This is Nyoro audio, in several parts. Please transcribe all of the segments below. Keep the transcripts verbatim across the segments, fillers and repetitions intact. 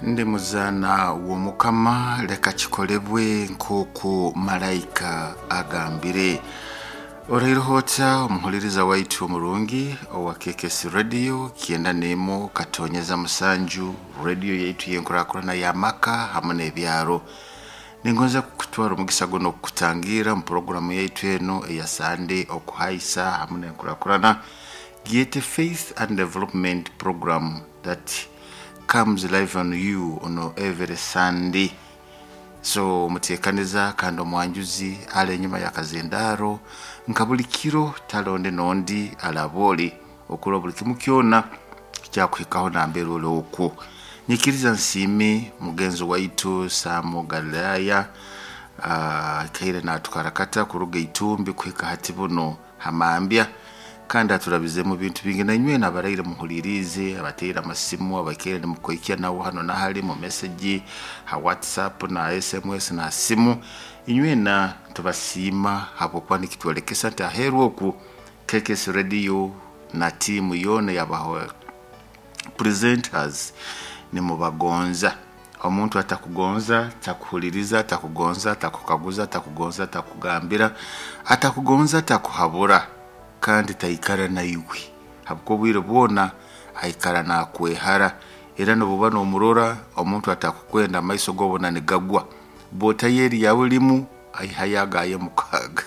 Ndi muzaana w'Omukama, leka kikolebwe nk'oku malayika agambire. Oraireho ota omuhuliriza waitu omurungi owa K K S Radio kyenda n'emu katonyeza musanju, radio yaitu y'enkurakurana y'amaka hamwe n'ebyaro. Ningonza kukutwara omugisa guno okukutangira mu puroguramu yaitu eno eya Sande okuhaisa hamwe n'enkurakurana, Giyete Faith and Development Program that comes live on you on every Sunday. So muteekaniza kandi omwanjuzi ali enyuma ya kazendaro nka buli kiro talonde nondi alaboli okura buli kimu kyona kyakuhikaho nambere ole okwo. Nyikiriza nsiime mugenzi waitu Samu Galilaya, uh, kaire natukarakata kuruga itumbi kuhika hati buno hamambya, kandi aturabizemu bintu bingi na inywe nabaraire muhulirize, abateera amasimu, abakeere nimukoikia nawo hano nahali mu message ha WhatsApp na S M S na simu. Inywe na tubasiima habwokuba nikitwolekesa nti aheeru oku K K S Radio na tiimu yoona yabaho presenters nimubagonza. Omuntu atakugonza takuhuliriza, atakugonza takukaguza, atakugonza takugambira, atakugonza takuhabura, kandi taikara naiwe habwo obwire bwona aikara nakwehara. Era nobuba nomurora omuntu atakukwenda amaiso gobona nigagwa botayeri yawe limu aihayagaye mukaga.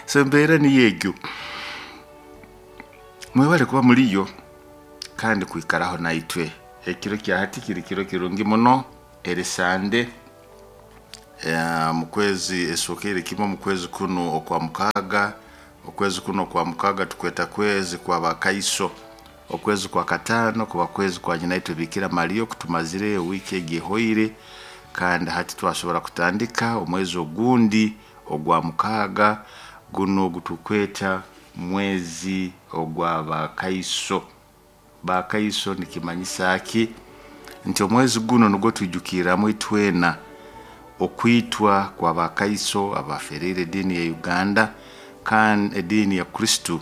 So embeera niyo egyo, mwebale kuba muliyo kandi kwikaraho naitwe. Ekiro kya hati kiri kiro kirungi muno, eri Sande mukwezi esokere kimwe mukwezi kuno okwa mukaga. Okwezi kuno kwa mukaga tukweta kwezi kwa bakaiso, okwezi kwa katano kuba kwezi kwa nyina itwe Bikira Maria kutumazire wiki egihoire, kandi hati twasobora kutandika omwezi ogundi ogwa mukaga guno gutukweta mwezi ogwa bakaiso. Bakaiso nikimanyisa ki? Nti omwezi guno nugwo twijukiramu itwena okwitwa kwa bakaiso abaferire edini ya Uganda kandi edini ya Kristo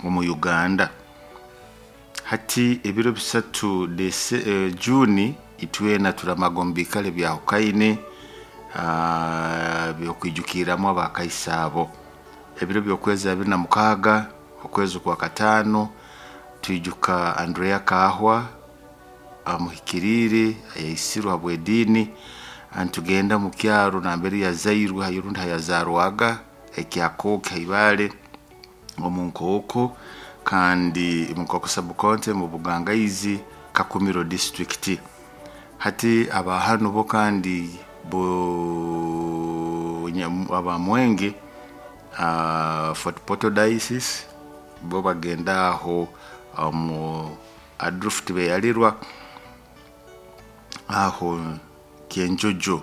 omu Uganda. Hati ebiro bisatu dese, eh, Juni itwena turamagombikale bya hukaine uh, byokwijukiramu abakaiso abo. Ebiro byokwezi abiri na mukaga okwezi kwa katano twijuka Andrea Kahwa amuhikirire ayaisirwa habwedini, antugenda mu kyaro nambere yazairwe hayirundi hayazarwaga ekyakoke haibale omu Nkooko, kandi mu Nkooko subcounty mu Bugangaizi Kakumiro district. Hati abahano bo kandi bo abamwenge uh, Fort Portal Diocese bo bagenda aho mu Adrift beyalirwa aho Kenjojo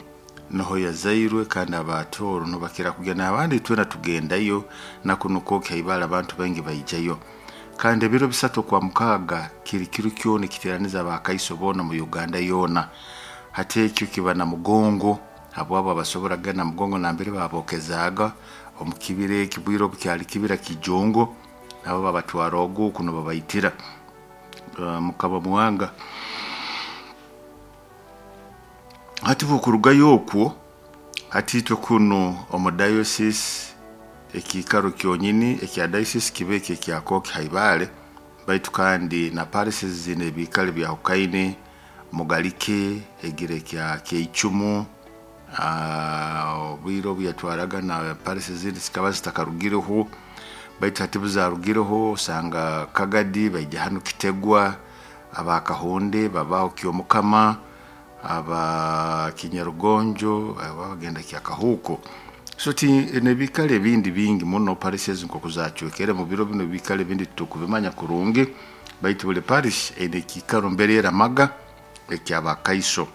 noho yazairwe, kandi abatoro no bakira kugenda abandi twena tugendayo nakunuko kaibala abantu bengi baijayo. Kandi ebiro bisatu kwa mukaga kiri kiro kyone kiteraniza abakaiso bona mu Uganda yona. Hati ekyo kiba na mugongo abo abo abasobora gana mugongo nambere babokezaga omukibire ekibwiro kyali kibira kijongo, nabo babatwara ogu kuno babaitira uh, mukaba muwanga. Hati bukurugayo okwo hati itwe kuno omu diocese ekikaro kyonyini ekya diocese kibe ekya Koki Haibale, baitu kandi na parishes zine ebikale bya Hukaine Mugalike egire kya Keichumu obwire obu yatwaraga na parishes zindi zikaba zitakarugireho, baitu hati buzarugireho osanga Kagadi baija hano Kitegwa, abakahonde babaho Kyomukama, aba Kinyarugonjo abagenda kya Kahuko. So ti nebikale bindi bingi muno parishes nko kuzacwekere mu biro bino bikale bindi tukubimanya kurungi, baitu buli parish ene kikaro mbere eramaga ekyabakaiso.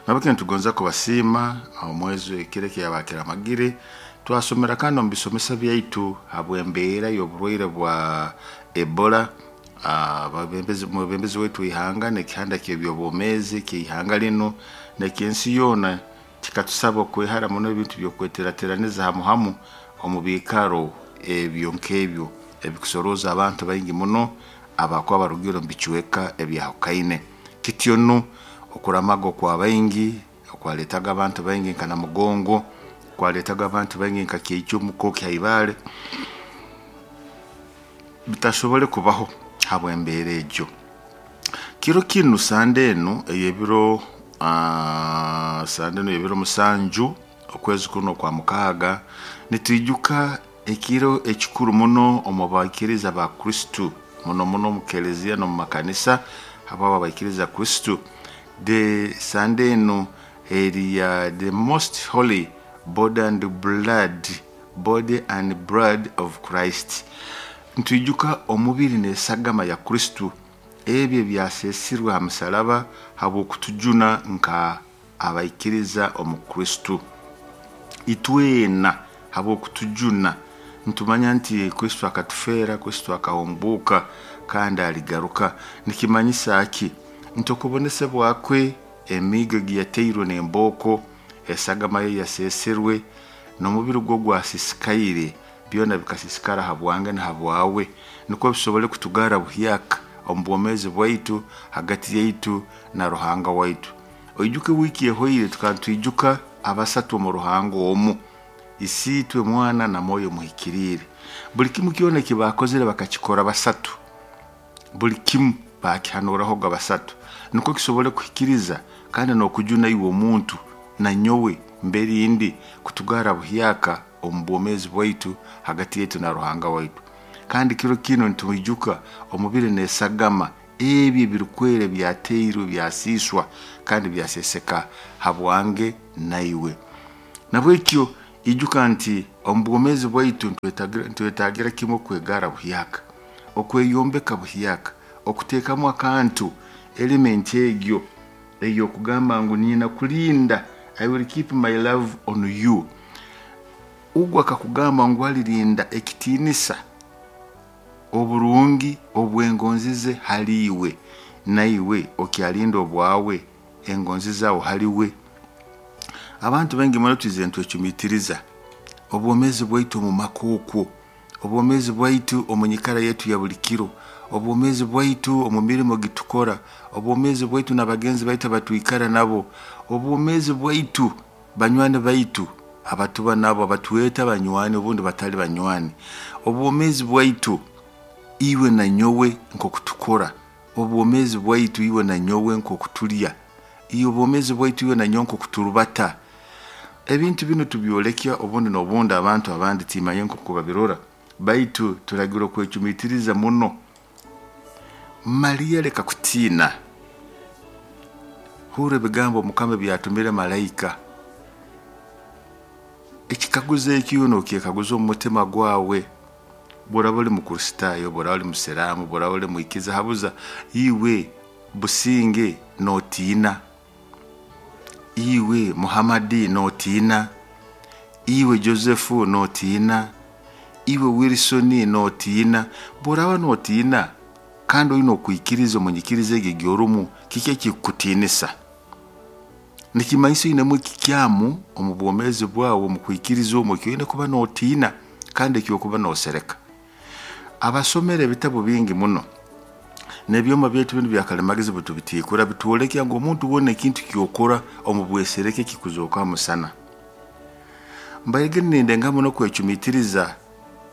Nabake ntugonza kubasiima omwezi ekireke yabakiramagire twasomera kandi omu bisomesa byaitu habw'embeera y'oburwaire bwa Ebola. Ababembezi mwebembezi wetu ihanga nekihanda ky'ebyobwomeezi ky'ihanga lino nekyensi yoona kikatusaba okwehara muno ebintu by'okweterateraniza hamu hamu omu biikaro ebyo nk'ebyo ebikusoroza abantu baingi muno abakuba barugire omu bicweka ebyahukaine. Kityo nu okuramaga okwa baingi okwaletaga abantu baingi nka Namugongo, kwaletaga abantu baingi nka Kyeicumu, Kyaibale, bitasobole kubaho habw'embeera egyo. Kiro kinu Sande enu ey'ebiro uh, Sande enu ey'ebiro musanju okwezi kuno kwa mukaaga, nitwijuka ekiro ekikuru muno omu baikiriza ba Kristo, muno muno omu kelezia n'omu makanisa habwabo abaikiriza Kristo. The Sande enu eri uh, the most holy body and blood body and blood of Christ. Nitwijuka omubiri n'esagama ya Kristo, ebyo ebyasesirwe ha musalaba habw'okutujuna nka abaikiriza omu Kristo. Itwena habw'okutujuna nitumanya nti Kristo akatufeera, Kristo akahumbuuka kandi aligaruka. Nikimanyisa ki? Nti okubonesebwa kwe, emiigo egiyateirwe n'embooko, esagama ye yaseserwe, n'omubiri gwe gwasisikaire, byona bikasisikara habwange na habwawe, nukwo bisobole kutugara buhyaka omu bwomeezi bwaitu hagati yaitu na Ruhanga waitu. Oijuke wiiki ehoire tukaba nitwijuka abasatu omu Ruhanga omu, Isiitwe, Mwana na Mwoyo Muhikiriire. Buli kimu kyona eki baakozere bakakikora basatu, buli kimu bakihanurahoga basatu, nukwo kisobole kuhikiriza kandi n'okujuna iwe omuntu na nyowe mberindi kutugara buhyaka omu bwomeezi bwaitu hagati yaitu na Ruhanga waitu. Kandi kiro kino nitwijuka omubiri n'esagama ebyo ebirukwera byateirwe byasiiswa kandi byaseseka habwange naiwe. Nabwekyo ijuka nti omu bwomeezi bwaitu nitwetagira kimu okwegara buhyaka, okweyombeka buhyaka, okuteekamu akantu element egyo ey'okugamba ngu nina kulinda, I will keep my love on you. Ugwo akakugamba ngu alirinda ekitiinisa oburungi obw'engonzi ze hali iwe, naiwe okyalinda obwawe engonzi zawe haliwe. Abantu baingi muno twize nitwecumitiriza obwomeezi bwaitu omu maka okwo, obwomeezi bwaitu omu nyikara yaitu ya buli kiro, obwomeezi bwaitu omu mirimo gitukora, obwomeezi bwaitu n'abagenzi baitu abatwikara nabo, obwomeezi bwaitu banywani baitu abatuba nabo abatweta banywani obundi batali banywani, obwomeezi bwaitu iwe na nyowe nk'okutukora, obwomeezi bwaitu iwe na nyowe nk'okutulya, obwomeezi bwaitu iwe na nyowe nk'okuturubata. Ebintu binu tubyolekya obundi n'obundi abantu abandi timanye nk'oku babirora, baitu turagira okwecumitiriza muno. Mariya leka kutiina. Hurra ebigambo Mukama ebyatumire malaika. Ekikaguzo ekyo nokyekaguza omu mutima gwawe, bw'oraba oli Mukristaayo, bw'oraba oli Musiraamu, bw'oraba oli mwikiza, habuza iwe Businge nootiina, iwe Muhammadi nootiina, iwe Joseph nootiina, iwe Wilson nootiina. Bw'oraba nootiina kandi oine okwikiriza omu nyikiriza egyo egyorumu, kiki ekikukutiinisa? Nikimanyisa oinemu ekikyamu omu bwomeezi bwawe omu kwikiriza omu eki oine kuba nootiina kandi ekyokuba noosereka. Abasomere ebitabu bingi muno n'ebyoma byaitu binu byakalimagezi butubitiikura bitwolekya ngu omuntu wona ekintu kyokora omu bwesereke kikuzooka musana. Mbaire nindenga muno kwecumitiriza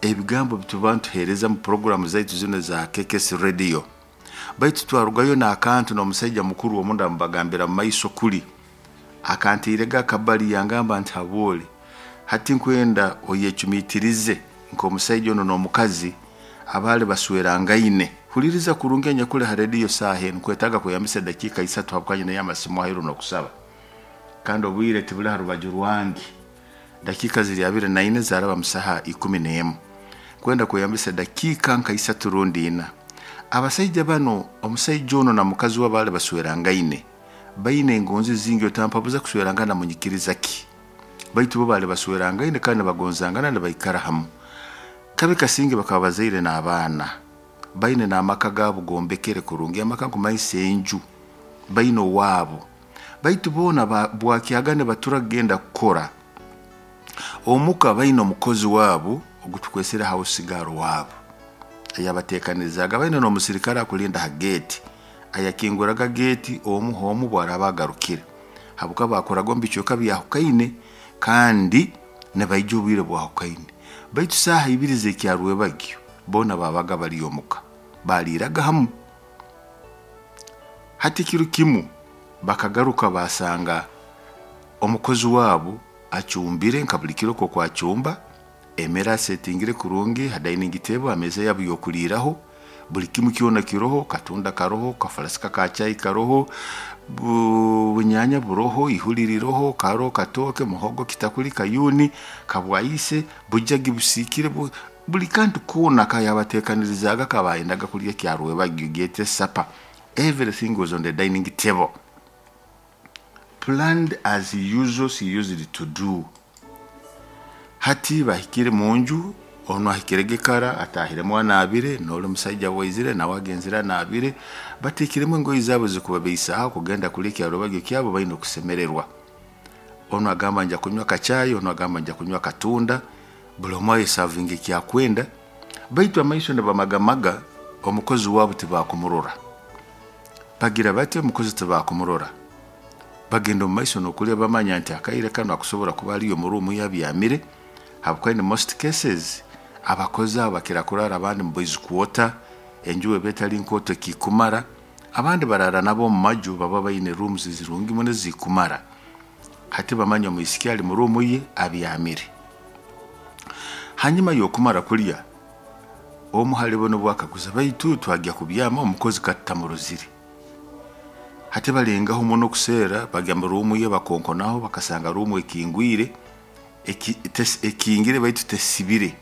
ebigambo bituba ntuheereza mu puroguramu zaitu zino za K K S Radio. Baitu twarugayo n'akantu n'omusaija mukuru omunda mubagambira mu maiso kuli akantiirega akabali yangamba nti habwole hati nkwenda oyecumitirize nk'omusaija ono n'omukazi abaali baswerangaine. Huliriza kurungi enyakuli ha rediyo saaha enu, nkwetaaga kweyambisa dakiika isatu habwanye nayo amasimu aheeru n'okusaba, kandi obwire tibuli ha rubaju rwange. Dakiika ziri abiri na ina zaraba mu saaha ikumi n'emu, kwenda kweyambisa dakiika nka isatu rundi ina. Abasaija bano, omusaija ono na mukazi we abaali baswerangaine baine engonzi zingi, otampabuza kuswerangana munyikiriza ki, baitu bo baali baswerangaine kandi bagonzangana nibaikara hamu. Kabi kasinge bakaba bazaire n'abaana, baine n'amaka gaabo gombekere kurungi, amaka nkumanyisa enju, baine owaabo. Baitu boona bwakyaga nibatura kugenda kukora omuka, baine omukozi waabo ogutukwesere house girl waabo. Ayabateekanirizaga baine n'omusirikale akulinda ha geeti, ayakinguraga geeti omu h'omu bwaraba agarukire, habwokuba bakoraga omu bicweka byahukaine kandi nibaija obwire bwahukaine. Baitu saaha ibiri z'ekyarwebagyo boona babaga bali omuka, baliiraga hamu. Hati kiro kimu bakagaruka basanga omukozi waabo acumbire nka buli kiro nkooku acumba, emere asetingire kurungi ha dining table, ha meeza yabo y'okuliiraho, buli kimu kyona kiroho, katunda karoho, kafulasika ka chai karoho, bunyaanya buroho, ihuli liroho, karo, katooke, muhogo, kitakuli, kayuni, kabwaise, bujagi busiikire, buli kantu koona akayabateekanirizaaga kabayendaga kulya kyarwebagyo gyete supper. Everything was on the dining table, planned as usual she used to do. Hati bahikire munju, onu ahikirege kara atahiremu anaabire, n'oli musaija waizire nawe agenzire anaabire, bateekiremu engoye zaabo zikubabaisaho kugenda kulya ekyarwebagyo kyabo baine okusemererwa. Onu agamba nja kunywa kachai, onu agamba nja kunywa katunda, buli omu ayesavinga ekyakwenda, baitu amaiso nibamagamaga omukozi waabo tibakumurora. Bagira bati omukozi tibakumurora. Bagenda omu maiso n'okulya bamanya nti akaire kanu akusobora kuba aliyo omu ruumu yabyamire, habwokuba in most cases abakozi abo bakira kurara abandi mu boys quarter, enju eba etali nkooto ekikumara, abandi barara nabo omu maju baba baine rooms zirungi muno ezikumara. Hati bamanya omwisiki ali mu ruumu ye abyamire. Hanyuma y'okumara kulya, omu halibo nubwo akaguza, baitu twagya kubyama omukozi katutamurozire. Hati balengaho muno kuseera, bagya mu ruumu ye bakonkonaho bakasanga ruumu ekingwire, ekingire baitu tesibire.